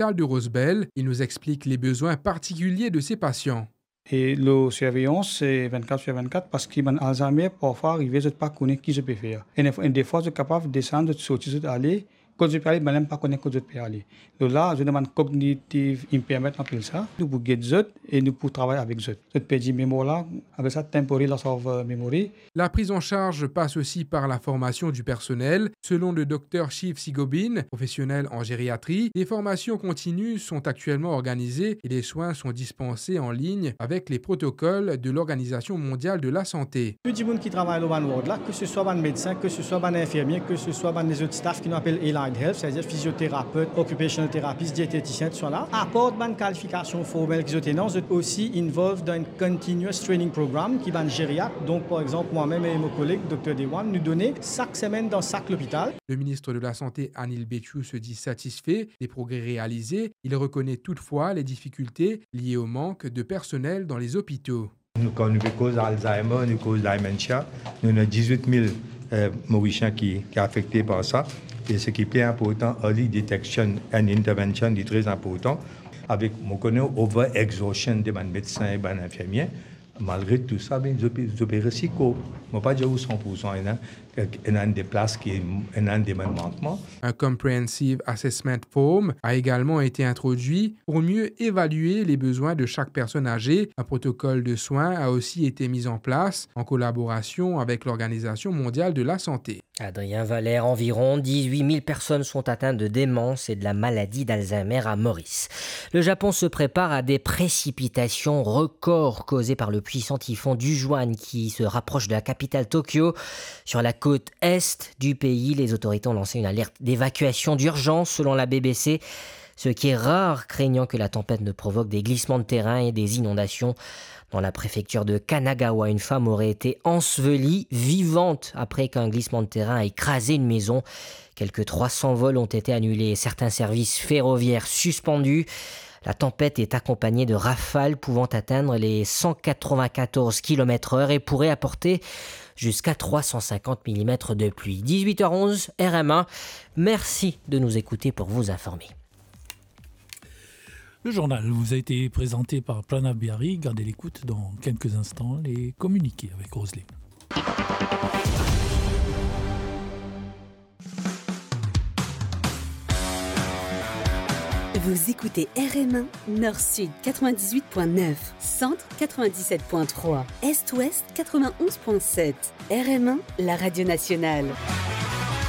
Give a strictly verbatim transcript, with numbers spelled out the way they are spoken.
l'hôpital de Rosebel. Il nous explique les besoins particuliers de ses patients. E lor sirveyans, se vennkat sir vennkat, parski bann Alzheimer, parfwa arive zot pa kone ki zot pe fer. Enn, enn defwa, zot kapav desann, zot sorti, zot ale, kot zot pe ale, bann la mem pa kone kot zot pe ale. Lor la, zot ena bann cognitive impairment, nou apel sa. Nou pou get zot e nou pou travay avek zot. Zot perdi memwar la, apel sa temporary loss of, euh, memory. La prise en charge passe aussi par la formation du personnel. Selon le docteur Shiv Sigobin, professionnel en gériatrie, des formations continues sont actuellement organisées et les soins sont dispensés en ligne avec les protocoles de l'Organisation mondiale de la santé. Tou dimoun ki travay lor bann ward la, ke se swa bann medsin, ke se swa bann infirmie, ke se swa bann lezot staff ki nou apel allied health, setadir fizioterapet, occupational therapist, dietetisien, tousala, apar bann kalifikasion formel ki zot ena, zot osi involved dan enn continuous training program ki bann gériat. Donk, par exanp, mwa mem e mo koleg, dokter Dewan, nou done sak semenn dan sak lopital. Le ministre de la Santé, Anil Bechu, se dit satisfait des progrès réalisés. Il reconnaît toutefois les difficultés liées au manque de personnel dans les hôpitaux. Nou, kan nou pe koz Alzheimer, nou koz dementia, nou ena dizwit mil, euh, Morisien ki, ki afekte par sa. E seki pli inportan, early detection and intervention, li tre inportan. Avek, mo kone, over exhaustion de bann medsin e bann infirmie, malgre tou sa, be, zot pe, zot pe resi kor. Mo pa dir ou san poursan, ena, ena enn de plas ki, ena enn de bann mankman. Un comprehensive assessment form a également été introduit pour mieux évaluer les besoins de chaque personne âgée. Un protocole de soins a aussi été mis en place en collaboration avec l'Organisation mondiale de la santé. Adrien Valère, environ dix-huit mille personnes sont atteintes de démence et de la maladie d'Alzheimer à Maurice. Le Japon se prépare à des précipitations records causées par le puissant typhon Dujuan qui se rapproche de la capitale Tokyo. Sur la côte est du pays, les autorités ont lancé une alerte d'évacuation d'urgence selon la B B C, ce qui est rare, craignant que la tempête ne provoque des glissements de terrain et des inondations. Dans la préfecture de Kanagawa, une femme aurait été ensevelie vivante après qu'un glissement de terrain a écrasé une maison. Quelques trois cents vols ont été annulés et certains services ferroviaires suspendus. La tempête est accompagnée de rafales pouvant atteindre les cent quatre-vingt-quatorze kilomètres heure et pourrait apporter jusqu'à trois cent cinquante millimètres de pluie. Dix-huit heures onze, R M un. Merci de nous écouter pour vous informer. Le journal vous a été présenté par Pranav Biari. Gardez l'écoute dans quelques instants, les communiqués avec Roselyne. Vous écoutez R M un, Nord-Sud quatre-vingt-dix-huit point neuf, Centre quatre-vingt-dix-sept point trois, Est-Ouest quatre-vingt-onze point sept. R M un, la radio nationale.